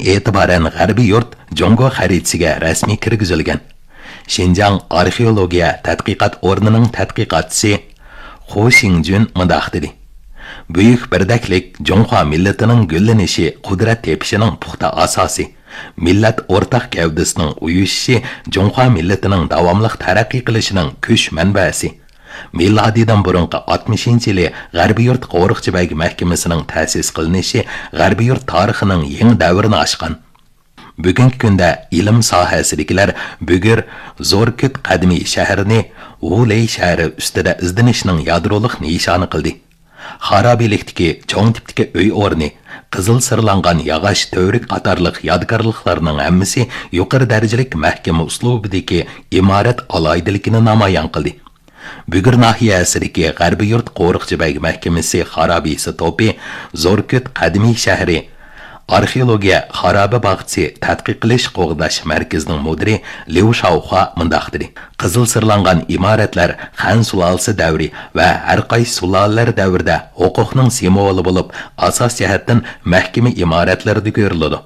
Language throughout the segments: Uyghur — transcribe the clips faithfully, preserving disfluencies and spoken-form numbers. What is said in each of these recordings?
ئېتىبارەن غەربىي يۇرت جۇڭگو خەرىتىسىگە رەسمىي كىرگۈزۈلگەن. شىنجاڭ ئارخېئولوگىيە تەتقىقات ئورنىنىڭ تەتقىقاتچىسى خۇ شىڭجۈن مۇنداق دېدى: بۈيۈك بىردەكلىك جۇڭخۇا مىللىتىنىڭ گۈللىنىشى، قۇدرەت تېپىشىنىڭ پۇختا ئاساسى، مىللەت ئورتاق گەۋدىسىنىڭ ئۇيۇشۇشى جۇڭخۇا مىللىتىنىڭ داۋاملىق تەرەققىي قىلىشىنىڭ كۈچ مەنبەسى. مىلادىدىن بۇرۇنقى ئاتمىشىنچى يىلى غەربىي يۇرت قورۇقچى بەگ مەھكىمىسىنىڭ تەسىس قىلىنىشى غەربىي يۇرت تارىخىنىڭ يېڭى دەۋرىنى ئاچقان. بۈگۈنكى كۈندە ئىلىم ساھەسىدىكىلەر بۈگۈر زوركۈت قەدىمىي شەھىرىنى ۋۇلەي شەھىرى ئۈستىدە ئىزدىنىشنىڭ يادرولۇق نىشانى قىلدى. خارابىلىكتىكى چوڭ تىپتىكى ئۆي ئورنى، قىزىل سىرلانغان ياغاچ تۈۋرۈك قاتارلىق يادىكارلىقلارنىڭ ھەممىسى يۇقىرى دەرىجىلىك مەھكىمە ئۇسلۇبىدىكى ئىمارەت ئالاھىدىلىكىنى نامايان قىلدى. بۈگۈر ناھىيەسىدىكى غەربىي يۇرت قورۇقچى بەگ مەھكىمىسى خارابىسى توپى، زوركۈت قەدىمىي شەھىرى، ئارخېئولوگىيە خارابە باغچىسى تەتقىق قىلىش قوغداش مەركىزىنىڭ مۇدىرى ليۇ شاۋخۇا مۇنداق دېدى: قىزىل سىرلانغان ئىمارەتلەر خەن سۇلالىسى دەۋرى ۋە ھەر قايسى سۇلالىلەر دەۋرىدە ھوقۇقنىڭ سىمۋولى بولۇپ، ئاساس جەھەتتىن مەھكىمە ئىمارەتلىرىدە كۆرۈلىدۇ.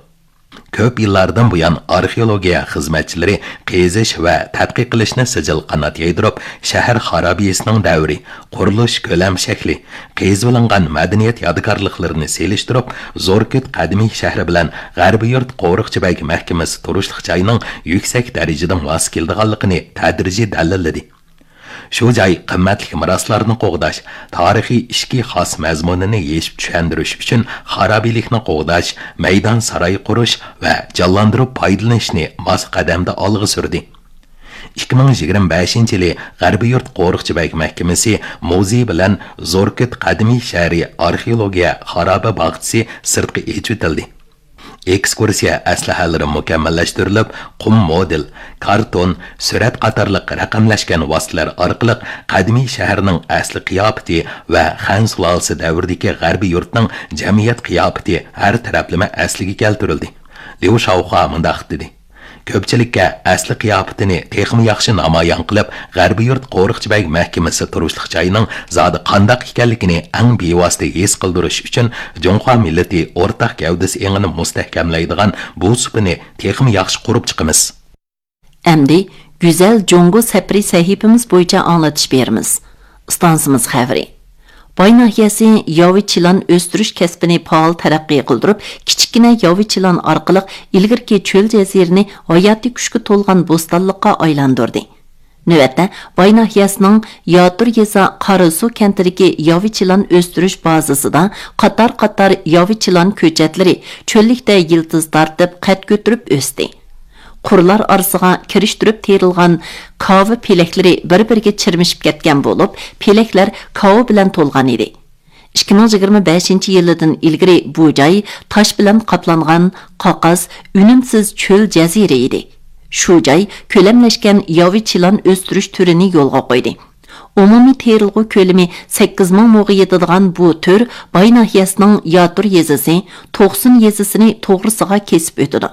كۆپ يىللاردىن بۇيان ئارخېئولوگىيە خىزمەتچىلىرى قېزىش ۋە تەتقىق قىلىشنى سىجىل قانات يايدۇرۇپ، شەھەر خارابىسىنىڭ دەۋرى، قۇرۇلۇش كۆلەم شەكلى، قېزىۋېلىنغان مەدەنىيەت يادىكارلىقلىرىنى سېلىشتۇرۇپ، زوركۈت قەدىمىي شەھىرى بىلەن غەربىي يۇرت قورۇقچى بەگ مەھكىمىسى تۇرۇشلۇق جاينىڭ يۈكسەك دەرىجىدە ماس كېلىدىغانلىقىنى تەدرىجىي دەلىللىدى. شۇ جاي قىممەتلىك مىراسلارنى قوغداش، تارىخىي ئىچكى خاس مەزمۇنىنى يېشىپ چۈشەندۈرۈش ئۈچۈن خارابىلىكنى قوغداش، مەيدان ساراي قۇرۇش ۋە جانلاندۇرۇپ پايدىلىنىشنى ماس قەدەمدە ئالغا سۈردى. ئىككى مىڭ يىگىرمە بەشىنچى يىلى غەربىي يۇرت قورۇقچى بەگ مەھكىمىسى مۇزېيى بىلەن زوركۈت قەدىمىي شەھىرى ئارخېئولوگىيە خارابە باغچىسى سىرتقا ئېچىۋېتىلدى. ئېكسكۇرسىيە ئەسلىھەلىرى مۇكەممەللەشتۈرۈلۈپ، قۇم مودېل، كارتون، سۈرەت قاتارلىق رەقەملەشكەن ۋاسىتىلەر ئارقىلىق قەدىمىي شەھەرنىڭ ئەسلى قىياپىتى ۋە خەن سۇلالىسى دەۋرىدىكى غەربىي يۇرتنىڭ جەمئىيەت قىياپىتى ھەر تەرەپلىمە ئەسلىگە كەلتۈرۈلدى. ليۇ شاۋخۇا مۇنداق دېدى: كۆپچىلىككە ئەسلى قىياپىتىنى تېخىمۇ ياخشى نامايان قىلىپ، غەربىي يۇرت قورۇقچى بەگ مەھكىمىسى تۇرۇشلۇق جاينىڭ زادى قانداق ئىكەنلىكىنى ئەڭ بىۋاسىتە ھېس قىلدۇرۇش ئۈچۈن، جۇڭخۇا مىللىتى ئورتاق گەۋدىسى ئېڭىنى مۇستەھكەملەيدىغان بۇ سۇپىنى تېخىمۇ ياخشى قۇرۇپ چىقىمىز. ئەمدى گۈزەل جۇڭگو سەپىرى سەھىپىمىز بويىچە ئاڭلىتىش بېرىمىز. ئىستانسىمىز خەۋىرى. باي ناھىيەسى ياۋا چىلان ئۆستۈرۈش كەسپىنى پائال تەرەققىي قىلدۇرۇپ، كىچىككىنە ياۋا چىلان ئارقىلىق ئىلگىرىكى چۆل جەزىرىنى ھاياتىي كۈچكە تولغان بوستانلىققا ئايلاندۇردى. نۆۋەتتە، باي ناھىيەسىنىڭ ياتۇر يېزا قاراسۇ كەنتىدىكى ياۋا چىلان ئۆستۈرۈش بازىسىدا قاتار-قاتار ياۋا چىلان كۆچەتلىرى چۆللۈكتە يىلتىز تارتىپ، قەد كۆتۈرۈپ ئۆستى. قۇرلار ئارىسىغا كىرىشتۈرۈپ تېرىلغان كاۋا پېلەكلىرى بىر-بىرىگە چىرمىشىپ كەتكەن بولۇپ، پېلەكلەر كاۋا بىلەن تولغان ئىدى. ئىككى مىڭ يىگىرمە بەشىنچى يىلىدىن ئىلگىرى بۇ جاي تاش بىلەن قاپلانغان قاقاس، ئۈنۈمسىز چۆل جەزىرە ئىدى. شۇ جاي كۆلەملەشكەن ياۋا چىلان ئۆستۈرۈش تۈرىنى يولغا قويدى. ئومۇمىي تېرىلغۇ كۆلىمى سەككىز مىڭ موغا يېتىدىغان بۇ تۈر باي ناھىيەسىنىڭ ياتۇر يېزىسى، توقسۇن يېزىسىنى توغرىسىغا كېسىپ ئۆتىدۇ.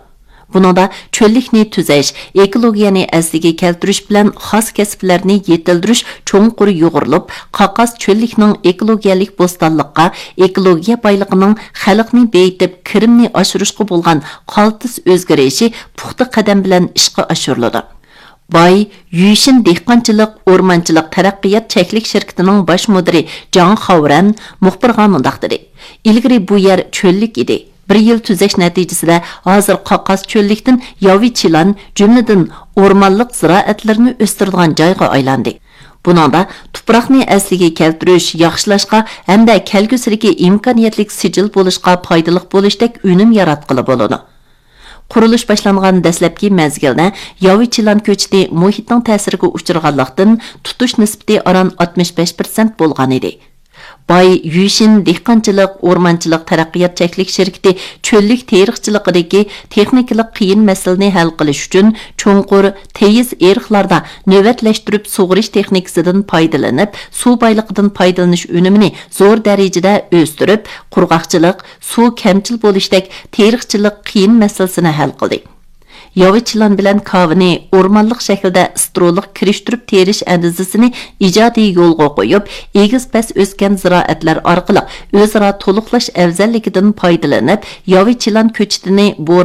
بۇنىڭدا چۆللۈكنى تۈزەش، ئېكولوگىيەنى ئەسلىگە كەلتۈرۈش بىلەن خاس كەسىپلەرنى يېتىلدۈرۈش چوڭقۇر يۇغۇرۇلۇپ، قاقاس چۆللۈكنىڭ ئېكولوگىيەلىك بوستانلىققا، ئېكولوگىيە بايلىقىنىڭ خەلقنى بېيىتىپ، كىرىمنى ئاشۇرۇشقا بولغان قالتىس ئۆزگىرىشى پۇختا قەدەم بىلەن ئىشقا ئاشۇرۇلىدۇ. باي يۈشىن دېھقانچىلىق، ئورمانچىلىق تەرەققىيات چەكلىك شىركىتىنىڭ باش مۇدىرى جاڭ خاۋرەن مۇخبىرغا مۇنداق دېدى: ئىلگىرى بۇ يەر چۆللۈك ئىدى. بىر يىل تۈزەش نەتىجىسىدە ھازىر قاقاس چۆللۈكتىن ياۋا چىلان، جۈملىدىن ئورمانلىق زىرائەتلىرىنى ئۆستۈرىدىغان جايغا ئايلاندى. بۇنىڭدا تۇپراقنى ئەسلىگە كەلتۈرۈش، ياخشىلاشقا ھەمدە كەلگۈسىدىكى ئىمكانىيەتلىك سىجىل بولۇشقا پايدىلىق بولۇشتەك ئۈنۈم ياراتقىلى بولىدۇ. قۇرۇلۇش باشلانغان دەسلەپكى مەزگىلدە ياۋا چىلان كۆچىتى مۇھىتنىڭ تەسىرىگە ئۇچرىغانلىقتىن، تۇتۇش نىسبىتى ئاران ئاتمىش بەش پىرسەنت بولغان ئىدى. باي يۈشىن دېھقانچىلىق، ئورمانچىلىق تەرەققىيات چەكلىك شىركىتى چۆللۈك تېرىقچىلىقىدىكى تېخنىكىلىق قىيىن مەسىلىنى ھەل قىلىش ئۈچۈن، چوڭقۇر، تېيىز ئېرىقلاردا نۆۋەتلەشتۈرۈپ سۇغىرىش تېخنىكىسىدىن پايدىلىنىپ، سۇ بايلىقىدىن پايدىلىنىش ئۈنۈمىنى زور دەرىجىدە ئۆستۈرۈپ، قۇرغاقچىلىق، سۇ كەمچىل بولۇشتەك تېرىقچىلىق قىيىن مەسىلىسىنى ھەل قىلدى. ياۋا چىلان بىلەن كاۋىنى ئورمانلىق شەكىلدە سترولۇق كىرىشتۈرۈپ تېرىش ئەندىزىسىنى ئىجادىي يولغا قويۇپ، ئېگىز-پەس ئۆسكەن زىرائەتلەر ئارقىلىق ئۆزئارا تولۇقلاش ئەۋزەللىكىدىن پايدىلىنىپ، ياۋا چىلان كۆچىتىنى بور